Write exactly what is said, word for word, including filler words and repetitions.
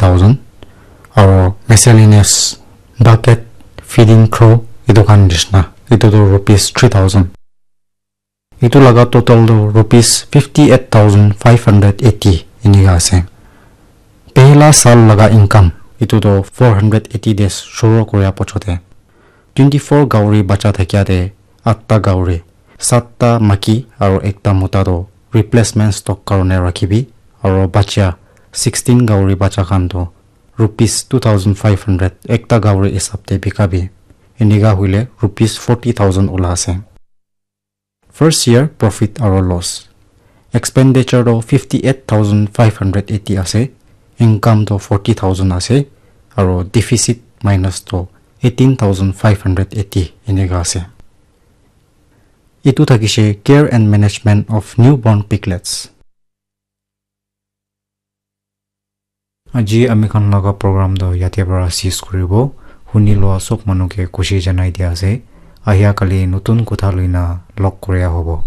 thousand, aro miscellaneous bucket, feeding trough, etu khan nishina, etu tu rupees three thousand. Etu laga total tu rupees fifty eight thousand five hundred eighty enika ase. Pehla saal laga income etu tu four hundred eighty days shuru koria pochote twenty four gauri bacha thakia te atta gauri, satta maki aro ekta mota tu replacement stock karone rakhibi, aro bacha sixteen gauri bacha khan tu rupees two thousand five hundred ekta gauri hisab te bikabi. Enika hoile rupees forty thousand ula ase. First year profit aro loss. Expenditure to fifty eight thousand five hundred eighty ase, income to forty thousand ase, aro deficit minus to eighteen thousand five hundred eighty enika ase. Etu thakishe care and management of newborn piglets. Aji ami khan laga program toh yate para cease kuribo. Huni loa sob manu ke khushi janai dia ase. Ahia kali notun kotha loina log koria hobo.